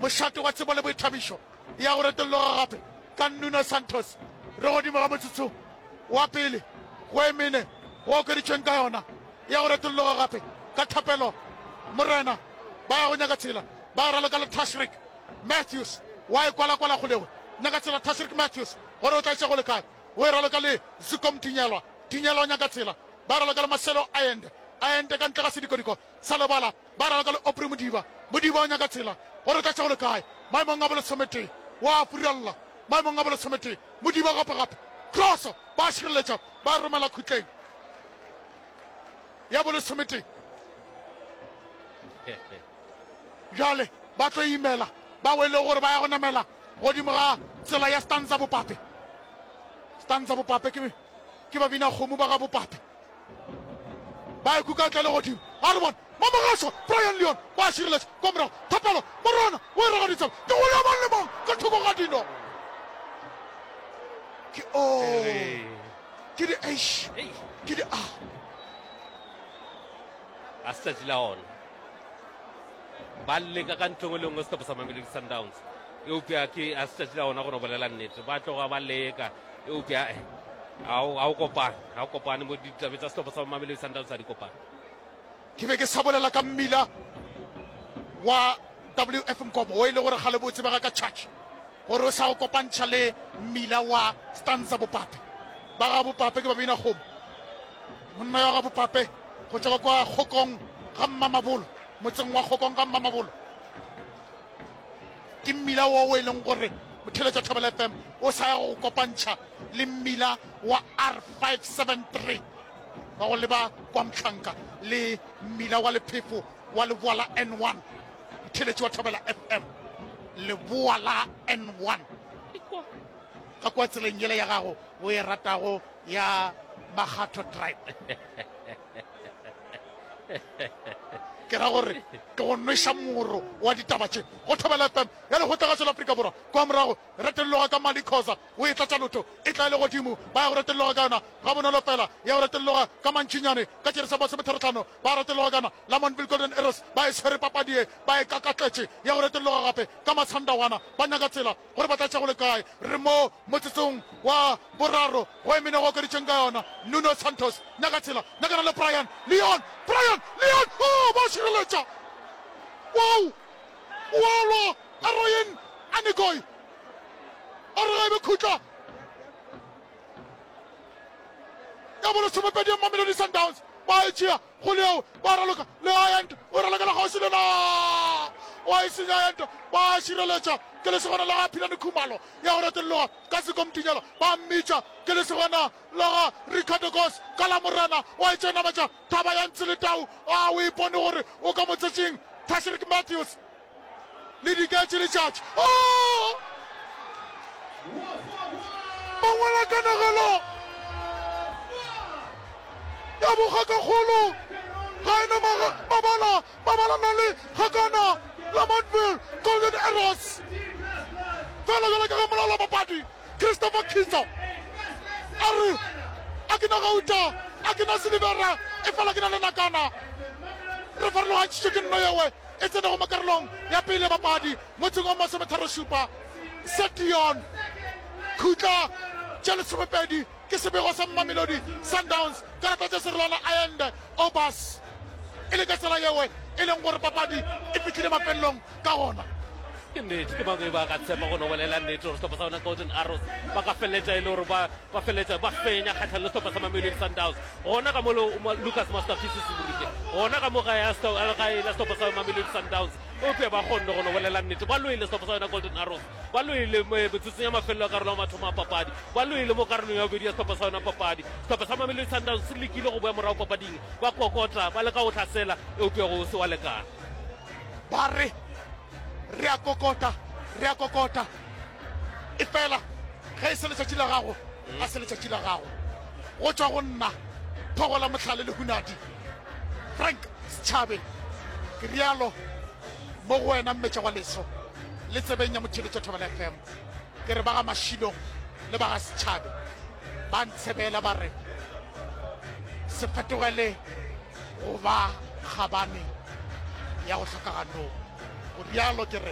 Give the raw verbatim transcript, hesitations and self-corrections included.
Mošate wa tsebo le boithabišo ya go retolloga gape ka Nuno Santos. Re godimo ga motsotso wa pele go e mene go okeditšweng ka yona ya go retolloga gape ka thapelo Morena. Ba ya go nyaka tsela, ba raloka le Tashreeq Matthews wa e kwalakwala kgolego. Nyaka tsela Tashreeq Matthews gore o tla iša go le kae. O e raloka le Zuko Mtinyelwa. Tinyelwa o nyaka tsela. Ba raloka le Marcelo Allende. Allende ka ntle ga sedikodiko sa lebala. Ba raloka le Aubrey Modiba. Modiba o nyaka tsela gore o tla tša go le kae. Maemong a bolesometee wa furalla. Maemong a bolesometee Modiba gape gape. Kroso ba šireletša ba romela khutleng ya bolesometee. Bjale ba tlo imela ba wele gore ba ya go namela godimo ga tsela ya Stanza Bopape. Stanza Bopape ke ke babina kgomo ba ga Bopape. Ba e kuka tla le godimo. A re bone Mamogašwa Brian Leon ba šireletša kwa morago. Thapelo Morona o e ragaditse ke go ya mang le mang ka thoko ga dino. Ke O, ke di H, ke di A. A se tšatši la ona. Ba leka ka ntho engwe le engwe sehlopha sa Mamelodi Sundowns, eupša ke a se tšatši la ona go no bolela nnete. Ba tloga ba leka, eupša eh, ga o kopane, ga o kopane mo ditabe tsa sehlopha sa Mamelodi Sundowns ga di kopane. Ke be ke sa bolela ka mmila wa W F Nkomo o e le gore kgale bo tsebega ka Church gore o sa go kopantšha le mmila wa Stanza Bopape. Ba ga Bopape ke ba bina kgomo. Monna ya ga Bopape go tšwa kwa Kgokong ga Mmamabolo, motseng wa Kgokong ga Mmamabolo. Ke mmila wo o e leng gore motheletša Thobela F M o sa ya go kopantšha le mmila wa R five seven three wa go leba kwa Mhlanka le mmila wa lephefo wa leboa la N one. Motheletši wa Thobela F M, leboa la N one ka kwa tseleng yela ya gago o e ratago ya Makgatho Drive. Ke ra gore ke go nweša moro wa ditaba tše go Thobela F M ya Lekgotlagašo la Afrika Borwa. Kwa morago retelloga ka Mali Khoza o e tlatša lotho e tla e le godimo, ba ya go retelloga ka yona gabonolo fela, ya go retelloga ka mantšinyane ka tšere sa masometharotlhano, ba retelloga ka yona. Lamontville Golden Arrows ba e swere papadi ye ba e kakatletše, ya go retelloga gape ka Masandawana, ba nyaka tsela gore ba tla tša go le kae. Re mo motsotsong wa boraro go e mene go okeditšeng ka yona. Nuno Santos nyaka tsela, nyakana le Brian Leon, Brian Leon, oh, ba šireletša, wow, wa lwa Aroyen Anigoi a re ga e be khutla ya bolesomepedi ya Mamelodi Sundowns ba e tšea go leo ba raloka le Ayant o ralokela kgauswi le na wa e senya Ayant ba šireletša ke lesogana la ga Philane Khumalo ya go retelloga ka sekomtinyela ba mmitša ke lesogana la ga Ricardo Goss ka la Morena wa e tšea nametša thaba ya ntse le tau a o ipone gore o ka motsetšing Tashreeq Matthews le diketše letšatši. Oh! Mangwala kanegelo ya bogakakgolo ga ena mabala mabala na le gakana Lamontville Golden Arrows fela jalo ka ge molaola papadi Christopher Kitso a re a ke na gauta a ke na silivera e fela ke na le nakana re farologantšhitšwe ke nno yewe e tsenego mo karolong ya pele papadi motseng wa masometharošupa Setion khutla tše lesomepedi ke sebego sa Mamelodi Sundowns karata tše serolwana Allende Obas e le ka tsela yewe e leng gore papadi e fihlile mafelelong ka gona. Ke nnete ke bangwe ba ka tshepa go no bolela nnete gore sehlopha sa bona Golden Arrows ba ka feleletša e le gore ba ba feleletša ba fenya kgatlhanong le sehlopha sa Mamelodi Sundowns gona ka mo Lucas Masterpiece Semorike gona ka mo gae gae la sehlopha sa Mamelodi Sundowns eupša ba kgonne go no bolela nnete ba loile sehlopha sa yona Golden Arrows ba loile metsotsong ya mafelelo a karolo ya mathomo a papadi ba loile mo karolong ya bobedi ya sehlopha sa yona papadi sehlopha sa Mamelodi Sundowns se lekile go boya morago papading ba kokota ba leka go hlasela eupša go se wa lekana ba re re a kokota re a kokota e fela ge e se letšatši la gago a se letšatši la gago go tšwa go nna thogola mohlale le hunadi Frank Setšhabe ke rialo mo go wena mmetša wa leso le tsebeng ya motheletša Thobela F M ke re ba ga Mašilong le ba ga Setšhabe ba ntshebela ba re se fetogele go ba kgabane ya go hlokaganong go rialo ke re